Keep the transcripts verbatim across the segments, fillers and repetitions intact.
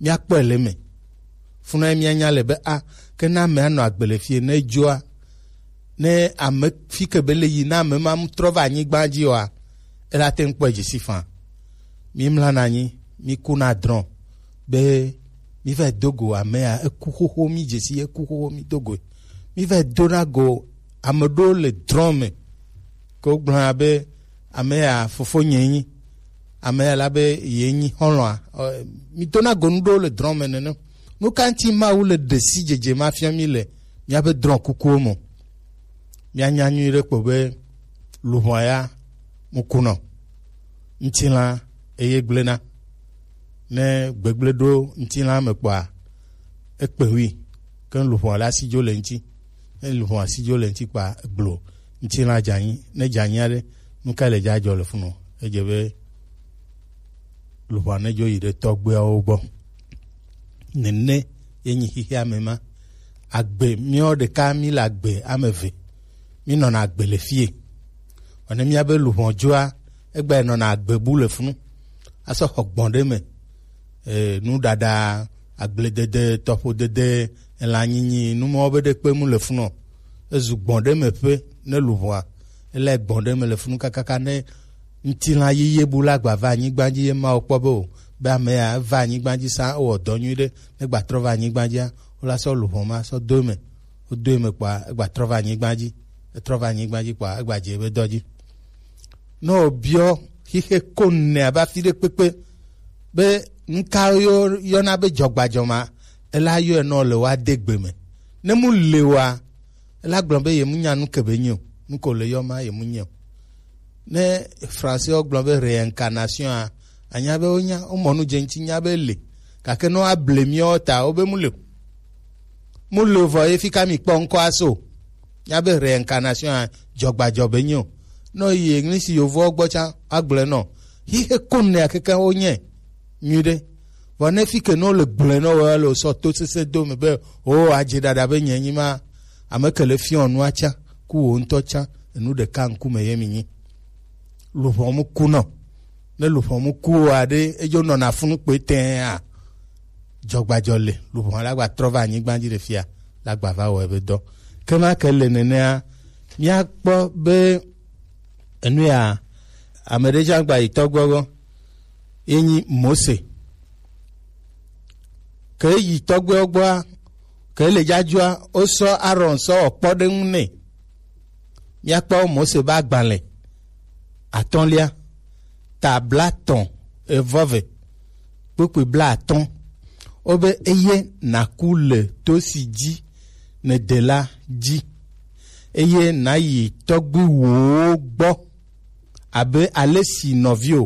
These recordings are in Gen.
Míakpɔe le eme. Funa ye míanya le be a, ke ne ame anɔ agbe le fie ne edzoa, ne ame fi ke be le yi ne ame ma mu trɔ va anyigba dzi oa, ela te ŋu kpɔe dzi si faa. Mímlana anyi, míkuna drɔ̃ be míva do go ame ya eku xoxo, mídze si eku xoxo, mído goe. Míva dona go ame ɖewo le drɔ̃ me ke wogblɔna be ame ya fofonye nyi, ame ya la be ye nyi xɔlɔ̃a. Ɔ, mídona go nu ɖewo le drɔ̃ me nene. Nu ka ŋuti Mawu le ɖe si dzedze ma fia mí le míaƒe drɔ̃ kukuwo me? Míanya nyuie ɖe kpɔ be luʋɔa ya mu kunɔ, ŋutilã eye gblẽna. Ne gbegblẽ ɖo ŋutilã me kpɔa, ekpe hui, ke luʋɔa la si dzo le ŋuti. Ne luʋɔa si dzo le ŋuti kpɔa, egblo ŋutilã dze anyi. Ne dze anyi aɖe, nu ka le dza dzɔ le funu? Edze be luʋɔa ne dzo yi ɖe tɔgbuiawo gbɔ. Nene ye nyi xixea me ma. Agbe, míawo ɖeka mí le agbe ame eve. Mí nɔna agbe le fie. Vɔ ne míabe luʋɔ dzoa, egba nɔna agbe bu le funu. Asɔ xɔ gbɔn ɖe me. E, nuɖaɖa, agbledede, tɔƒodede, elãnyinyi, nu mawo be ɖekpe mu le funu o. Ezu gbɔn ɖe me ƒe ne luʋɔa. Ele gbɔn ɖe me le funu kakaka ne ŋutilã yiye bu la gba va anyigba dzi ye Mawu kpɔ be o, be ame ya eva anyigba dzi sa, ewɔ dɔ nyui ɖe, ne gba trɔ va anyigba dzia, wola sɔ luʋɔ ma sɔ do eme. Wodo eme kpɔa, egba trɔ va anyigba dzi. Etrɔ va anyigba dzi kpɔa, egba dze ebe dɔ dzi. Ne wòbiɔ xixe ko nɛ abe afi ɖe kpekpe be nu ka yɔ-, yɔna be dzɔgbadzɔ ma, ela yɔe nɔ le woade gbe me. Ne mu le wa, ela gblɔ be ye mu nya nu ke be nyi o, nu ko le yɔ ma ye mu nyi o. Ne Français wo gblɔ be réincarnation a, anya be wonya, womɔ nu dze ŋuti nya be le, gake ne woable míawo ta, wobe mu le o. Mu le o vɔ ye fi ka mi kpɔ ŋkɔ aso. Míabe réincarnation a, dzɔgbadzɔ be nyi o. Ne yi English yovowo gbɔ tsã, agblɔe nɔ. Xixe ko nɛ akeke wo nye. Nyuiɖe. Vɔ ne fi ke ne wole gblɔe nɔ wo le sɔ to sese do me be, o, adze ɖaɖa be nye nyi ma, ame ke le fiɔ nua tsã, ku wo ŋutɔ tsã, enu ɖeka ŋkume ye mi nyi. Luʋɔ mu kunɔ. Ne luʋɔ mu ku o aɖe, edzo nɔna funu kpe tɛa. Dzɔgbadzɔ le, luʋɔ la gba trɔ va anyigba dzi ɖe fia, la gba va wɔ ebe dɔ. Ke ma ke le nenea, míakpɔ be enu ya, ame ɖe tsã gba yi tɔgbuiwo gbɔ, ye nyi Mose. Ke yi tɔgbuiwo gbɔa, ke le dzadzɔa, wosɔ Aaron sɔ wɔ kpɔɖeŋu nɛ. Míakpɔ Mose be agbalẽ atɔ̃lia, ta blaetɔ̃ evɔ eve, kpukpui blaatɔ̃. Wobe, eye nàku le to si dzi nède la dzi, eye nàyi tɔgbuiwòwo gbɔ, abe ale si nɔviwò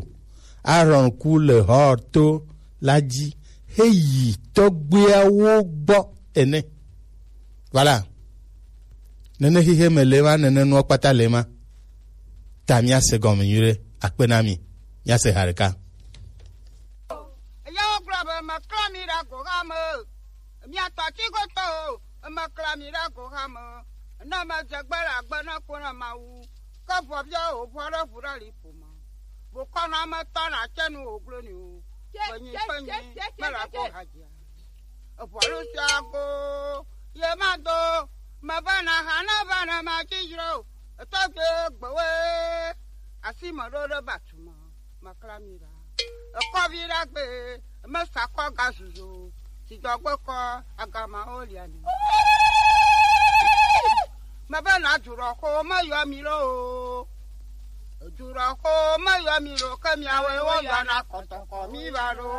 Aaron ku le Hor to la dzi heyi tɔgbuiawo gbɔ ene. Voilà. Nene xixe me le ma, nene nuwo kpata le ma. Ta míase gɔme nyuiɖe. Akpe na mi. Míase ha ɖeka. Eyawo gblɔ be, "Meklã mi ɖe agoha me. Mia tɔ tsi goto o, meklã mi ɖe agoha me. Ne medze gbe le agbe ne ko na Mawu. Ke vɔ bia o, vɔ ɖe ʋu ɖe li ƒo me. Bo kɔ na me tɔ na tse nu o glo ni o. Kpenyi, kpenyi, me la ko hadzia." Eʋɔlu sia go ye ma do, meva na ha na va na ma dzi dzro. Etɔ gbe gbewe, asi me ɖo ɖe batu me, makla mi ɖa. Ekɔvi ɖa gbe, me sa kɔ ga zuzo, si dɔgbe kɔ agama o lia ni. Mebe na dzurɔ ko me yɔ mi lo. Dzurɔ ko me yɔ mi lo, ke miawe wo yɔ na kɔtɔkɔ mi va ɖo.